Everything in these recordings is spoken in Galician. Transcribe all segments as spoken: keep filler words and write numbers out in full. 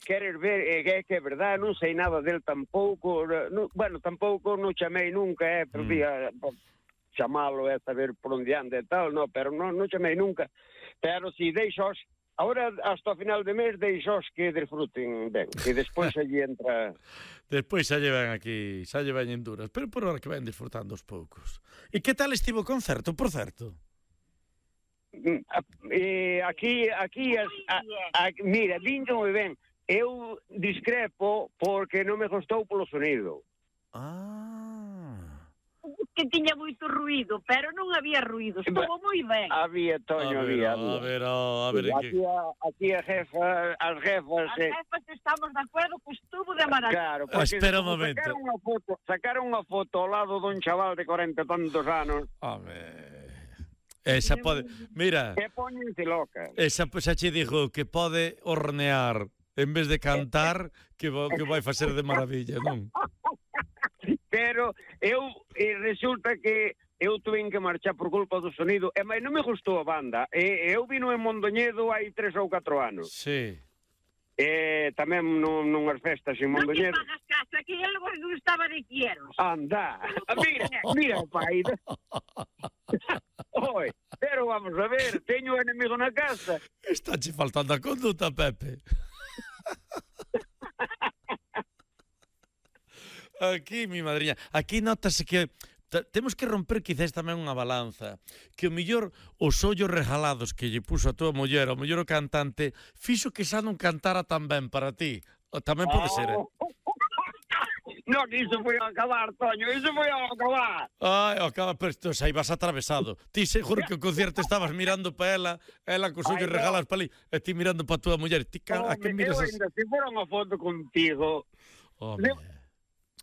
queres ver, é que, que é verdade, non sei nada del tampouco, no, bueno, tampouco non chamei nunca, eh, podía mm. chamalo e saber por onde anda e tal, no, pero non, non chamei nunca, pero si deixos, ahora hasta o final de mes deixos que desfruten ben, e despois allí entra... Despois xa llevan aquí, xa llevan en duras, pero por hora que ven disfrutando os poucos. E que tal estivo o concerto, por certo? Eh, aquí, aquí, a, a, a, mira, vindo moi ben. Eu discrepo porque non me gostou polo sonido. Ah. Que tiña moito ruído, pero non había ruído, estuvo moi ben. Había, Toño, había. A ver, a ver, aquí, a, aquí a jefa, as jefas... As jefas estamos de acordo que estuvo de maravilla. Claro, porque espera un momento. Sacaron unha foto, sacaron unha foto ao lado dun chaval de cuarenta e tantos anos. A ver... Esa pode... Mira... Que poñense loca. Esa xa che dixo que pode hornear en vez de cantar, que, que vai facer de maravilla, non? Pero eu, e resulta que eu tuve que marchar por culpa do sonido, e mais non me gustou a banda. E, eu vino en Mondoñedo hai tres ou catro anos. Sí. E tamén nun, nunhas festas en Mondoñedo. Non te pagas casa, que ele non estaba de quieros. Anda, mira, mira, pai. Oi, pero vamos a ver, teño enemigo na casa. Está che faltando a conduta, Pepe. Aquí, mi madriña, aquí notase que temos que romper quizás tamén unha balanza, que o mellor os ollos regalados que lle puso a tua muller, o mellor o cantante, fixo que xa non cantara tan ben para ti. Tamén pode ser, eh? No, que iso foi a acabar, Toño, iso foi a acabar. Ai, acaba, pero isto xa ibas atravesado. Ti seguro que o concierto estabas mirando pa ela, ela cos ollos regalas pa ali, e ti mirando pa tua muller. Ti, a que miras as... Eu ainda, se fora unha foto contigo... Home...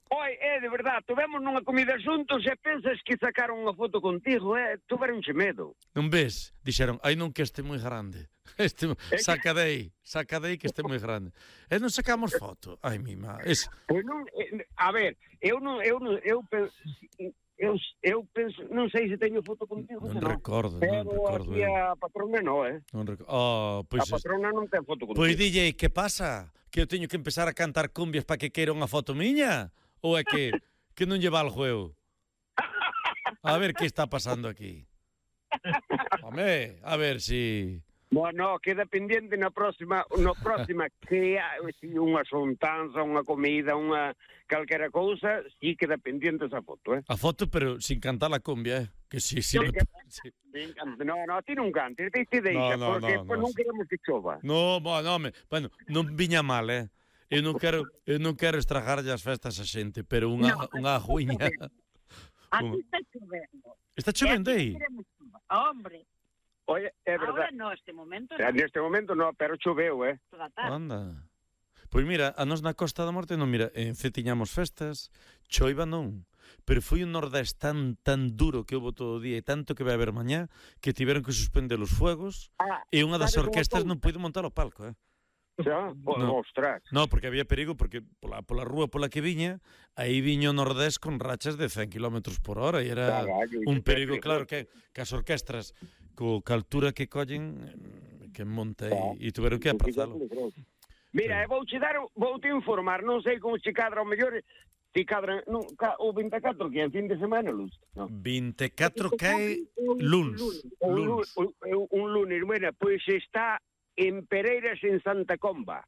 Oi, é, de verdade, tuvemos nunha comida xuntos e pensas que sacaron unha foto contigo, eh, tuveronche medo. Non ves? Dixeron, ai non que este moi grande. Este, saca dei, saca dei que este moi grande. E non sacamos foto. Ai, mima, es... Pois non, a ver, eu non, eu non, eu penso... Eu, eu penso, non sei se teño foto contigo, non, non no. recordo, pero non recordo. Pero aquí a patrona non, eh? Non recordo. Oh, pois a patrona non ten foto contigo. Pois D J, que pasa? Que eu teño que empezar a cantar cumbias para que queira unha foto miña? Ou é que, que non lle valgo eu? A ver que está pasando aquí. Home, a ver si... Bueno, queda pendiente na próxima, na próxima que si unha xuntanza, unha comida, unha calquera cousa, si queda pendiente esa foto, eh? A foto, pero sin cantar la cumbia, eh? Que si, si... No, me... sí. No, no, ti non cantes, ti te deixa, no, no, porque no, pues, no, non queremos que chova. No, bueno, me... bueno, non viña mal, eh? Eu non quero, eu non quero estragarlle as festas a xente, pero unha, no, unha aguiña... Aquí está chovendo. Está chovendo aí? Hombre. Oye, é verdade. Ahora no, este momento no. Neste momento no, pero choveu, eh? Anda. Pois mira, a nos na Costa da Morte non, mira, en Cee tiñamos festas, choiva non, pero foi un nordés tan, tan duro que houve todo o día e tanto que vai haber mañá que tiveron que suspender os fuegos ah, e unha das orquestas non puido montar o palco, eh? Xa, no. Ostras. No, porque había perigo, porque pola, pola rúa pola que viña, aí viño nordés con rachas de cen kilómetros por hora e era Caballo, un perigo, claro, que, que as orquestras co que altura que collen que monta e, e tuveron que aprazalo. Mira, sí. vouche dar, voute informar, non sei como se cadra o mellor, se cadra, non, o vinte e catro que é fin de semana, Luz. No. vinte e catro que é luns. luns. Un, un, un lunes, bueno, pois pues está en Pereiras, en Santa Comba.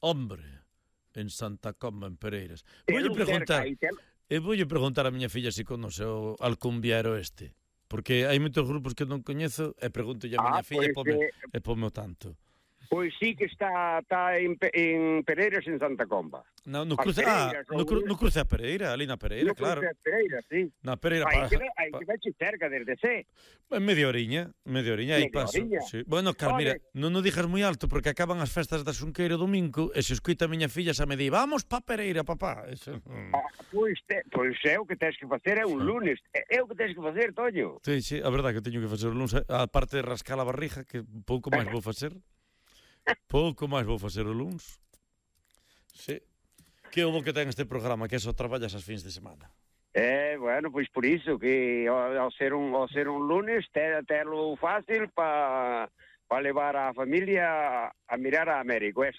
Hombre, en Santa Comba, en Pereiras. Voulle preguntar, eu voulle preguntar a miña filla se conoce o alcumbiero este, porque hai moitos grupos que non coñezo e pregúntolle a miña ah, filla pues, e, pome, eh, e pome o tanto. Pois sí que está, está en, en Pereiras, en Santa Comba. No, no cruce, ah, no, cru, no cruce a Pereira, ali na Pereira, no claro. No cruce a Pereira, sí. Na Pereira, hai que, hai que veche cerca desde C. Media oriña, media oriña, aí paso. Sí. Bueno, Carl, mira, non o dijas moi alto porque acaban as festas da Xunqueira o domingo e se escoita a miña filla xa me di, vamos pa Pereira, papá. Eso, mm. ah, pois, te, pois é o que tens que facer, é un lunes. É o que tens que facer, Toño. Sí, sí, a verdade que teño que facer o lunes, a parte de rascar a barriga, que pouco máis vou facer. Pouco máis vou facer o luns. Sí. Que houve que ten este programa, que só traballas as fins de semana? Eh, bueno, pois por iso que ao ser un ao ser un lunes te terlo fácil para pa levar a familia a, a mirar a Américo.